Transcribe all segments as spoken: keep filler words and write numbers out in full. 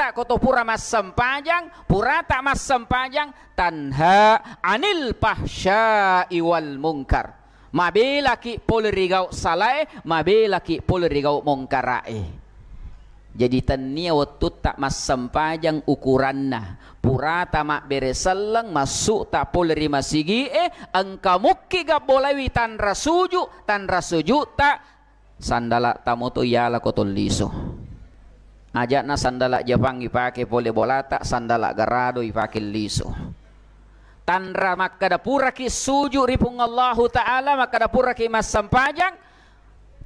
Ko to pura massempajang, purata massempajang, tanha anil fahsya'i wal munkar. Mabelaki pole ri gau salae, mabelaki pole ri gau mongkarae. Jadi, tennia wettutta massempajang ukuranna. Purata mabbere selleng, massu'ta pole ri masigi'e, engka mukki gabbolaiwi tanra suju, tanra suju'ta, sandala tamoto yala ko tolliso. Aja'na sandala Japang ipake pole bolata, sandala garado ipake liso. Tanra makkada puraki suju ri Puang Allahu Ta'ala, makkada puraki massempajang,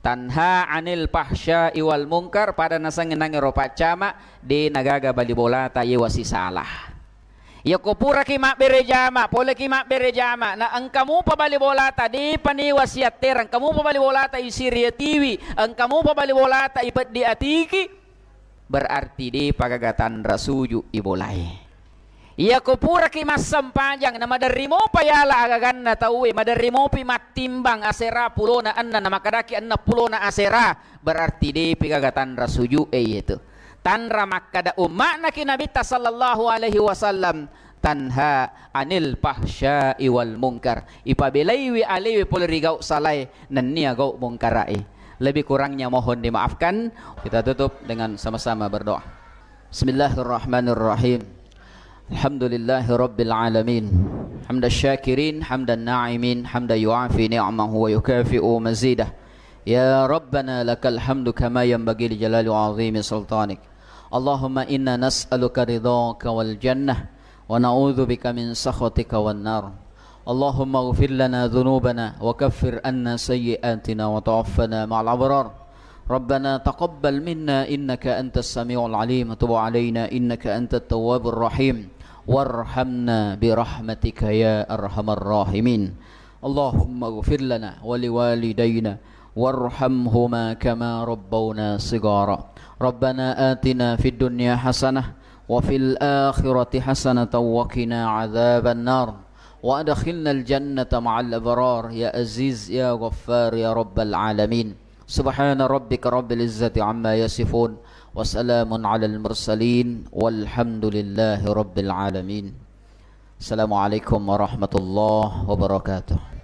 tanha anil fahsya'i wal munkar, pada nasengnge nangero paccama, de nagaga bali bolata yewa sisala. Yako puraki mabbere jama, poleki mabbere jama, na engka mupa bali bolata, depa niwa siattereng, engka mupa bali bolata isiri atiwi, engka mupa bali bolata ipeddi atiki, berarti depa gaga tanra suju ibolae. Yako puraki massempajang, na maderri mopa yala agaganna tauwe, maderri mopi mattimbang asera pulona enneng, na makadaki enneng pulona asera, berarti depi gaga tanra suju e yetu. Tanra makkada umma'naki Nabitta sallallahu alaihi wasallam, tanha anil fahsya'i wal munkar. Ipabelaiwi alewe pole ri gau salae nennia gau mungkarae. Lebih kurangnya mohon dimaafkan. Kita tutup dengan sama-sama berdoa. Bismillahirrahmanirrahim. Alhamdulillahi rabbil alamin. Hamdan syakirin, hamdan na'imin, hamdan yuafi ni'mahu wa yukafi'u mazidah. Ya Rabbana lakal hamdu kama yanbaghi li jalali wa azimi sultanik. Allahumma inna nas'aluka ridhaka wal jannah wa na'udzu bika min sakhatika wan nar. Allahumma ighfir lana dzunubana wa kaffir anna sayyi'atina wa tawaffana ma'al abrar. Rabbana taqabbal minna innaka antas samiul alim, wa tub alaina innaka antat tawwabur rahim. Warhamna bi rahmatika ya arhamar rahimin. Allahumma ighfir lana wa liwalidayna warhamhuma kama rabbawna shighara. Rabbana atina fid dunya hasanah wa fil akhirati hasanatan wa qina adzaban nar. Wa adkhilnal jannata ma'al abrar ya Aziz ya Ghaffar ya Rabbal alamin. Subhana rabbika rabbil izzati amma yasifun. Wa salamun alal mursalin. Walhamdulillahi rabbil alamin. Assalamualaikum warahmatullahi wabarakatuh.